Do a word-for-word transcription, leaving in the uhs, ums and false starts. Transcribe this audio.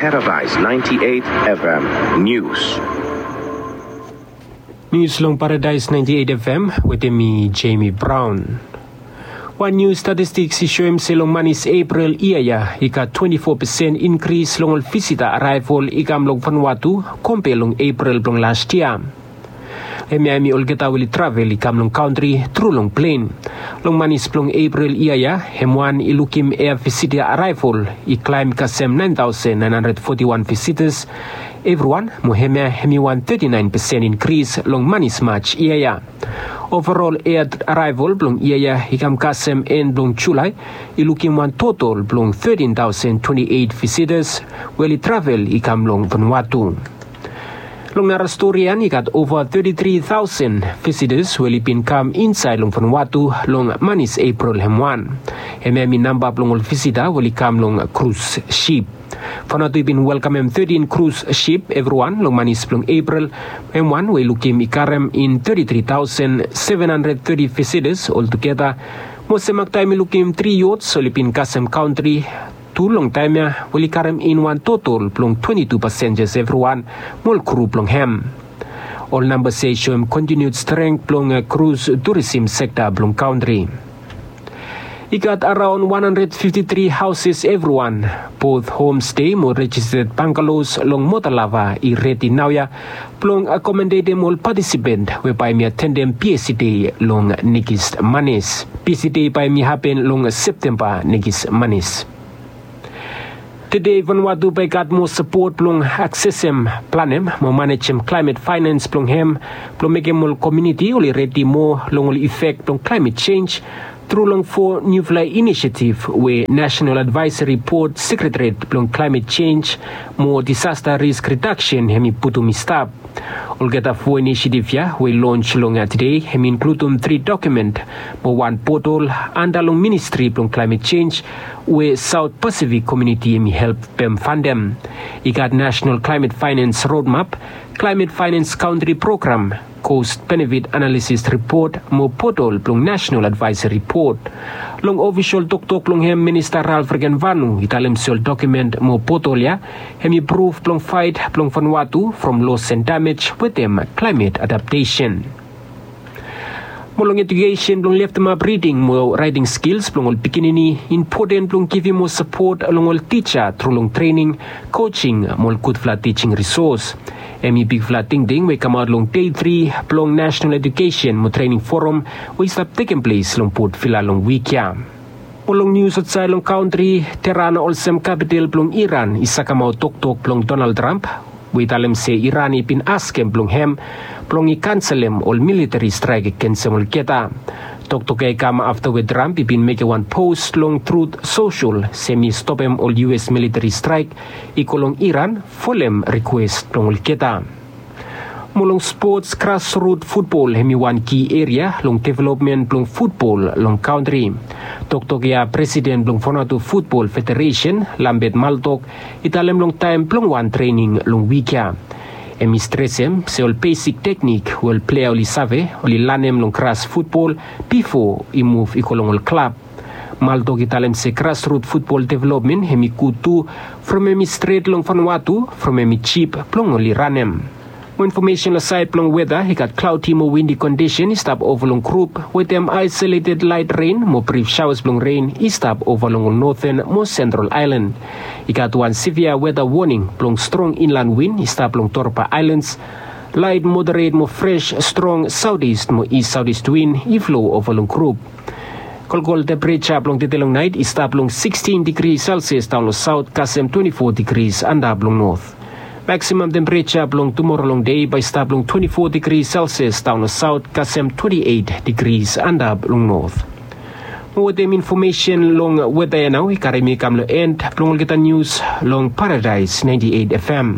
Paradise ninety-eight F M News. Nius long Paradise ninety-eight F M wetem mi, Jamie Brown. Wan niu statistiks i soem se long manis Epril yia ya i gat twenti fo pesen inkris long ol visita araevol i kam long Vanuatu, kompe long Epril blong las yia. Hemia hemi olgeta we oli travel i kam long kantri tru long plen. Long manis blong Epril yia ya, hem wan i lukim ea visita araevol i klaem kasem naen taosen naen handred foti wan visitas evriwan, mo hemia hemi wan teti naen pesen inkris long manis Maj yia ya. Ovarol ea araevol blong yia ya i kam kasem en blong Julae i lukim wan totol blong tetin taosen twenti eit visitas we oli travel i kam long Vanuatu. Long nara stori ya i gat ova teti tri taosen visitas we oli bin kam insaed long Vanuatu long manis Epril hem wan. Hemia hemi namba blong ol visita we oli kam long krus sip. Vanuatu i bin welkamem tetin krus sip evriwan long manis blong Epril hem wan we i lukim i karem in teti tri taosen seven handred teti visitas oltugeta. Mo semaktaem i lukim tri yots oli bin kasem kantri tu long taem ya we oli karem in wan totol blong twenti tu pasenjas evriwan mo ol kru blong hem. Ol nambas ya i soem kontiniud strength blong krus turisim sekta blong kantri. I gat araon wan handred fifti tri haoses evriwan, bot homste mo rejisted bangaloos long Motalava i redi naoia blong akomodetem ol patisipant we bae hemi atendem PSC Day long nekis manis. PSC Day bae hemi hapen long Septemba nekis manis. Tede Vanuatu bae i gat moa sapot blong aksesem, planem mo manejem klaemet faenans blong hem blong mekem ol komuniti oli redi moa long ol ifek blong klaemet jenj tru long fo niufala inisiativ we Nasenal Advaesari Bod Sekretariat blong Klaemet Jenj mo Disasta Risk Ridaksen hemi putum i stap. Olgeta fo inisiativ ya we i lons long tede hemi inkludum tri dokumen mo wan potol anda long Ministri blong Klaemet Jenj we Saot Pasifik komuniti hemi helpem fandem. I gat Nasenal Klaemet Faenans Rodmap, Klaemet Faenans Kantri Program, Kost Benefit Analisis Ripot mo potol blong Nasenal Advaesari Bod. Long ofisol toktok blong hem, Minista Ralph Regenvanu i talem se ol dokumen mo potol ya hemi pruf blong faet blong Vanuatu from los and damej wetem klaemet adaptesen. Mo long ejukesen blong leftemap riding mo raeting skils blong ol pikinini, impoten blong givim moa sapot long ol tija tru long trening, kojing mo ol gudfala tijing risos. Hemi bigfala tingting we i kamaot long dei tri blong Nasenal Ejukesen mo Trening Foram we i stap tekem ples long Port Vila long wik ya. Mo long nius aotsaed long kantri, Teheran olsem kapital blong Iran i sakemaot toktok blong Donald Trump we i talem se Iran i bin askem blong hem blong i kanselem ol militari straek agensem olgeta. Toktok ya i kam afta we Trump i bin mekem wan pos long Truth Social se hemi stopem ol US militari straek i go long Iran folem rikwes blong olgeta. Mo long spots, grasrut futbol hemi wan ki eria long developmen blong futbol long kantri. Toktok ya presiden blong Vanuatu Futbol Federesen, Lambert Maltok, i talem long taem blong wan trening long wik ya. Hemi stresem se ol besik teknik we ol plea oli save oli lanem long gras futbol bifo i muv i go long ol klab. Maltok i talem se grasrut futbol developmen hemi gud tu from hemi stret long Vanuatu from hemi jip blong oli ranem. Mo infomesen long saed blong weta, i gat klaodi mo windi kondisen i stap ova long grup wetem aesoleted laet ren mo brif saoas blong ren i stap ova long ol noten mo sentral aelan. I gat wan sevia weta woning blong strong inlan win i stap long Torba Aelans. Laet moderet mo fres strong saotis mo is saotis win i flo ova long grup. Kolkol tempereja blong tede long naet i stap long sikstin digri Celsius daon long saot kasem twenti fo digri antap long not. Maksimam tempereja blong tumora long dei bae i stap long twenti fo digri Celsius daon long saot kasem twenti eit digri antap long not. Mo wetem infomesen long weta ya nao i karem mi kam long en blong olgeta nius long Paradaes naenti eit FM.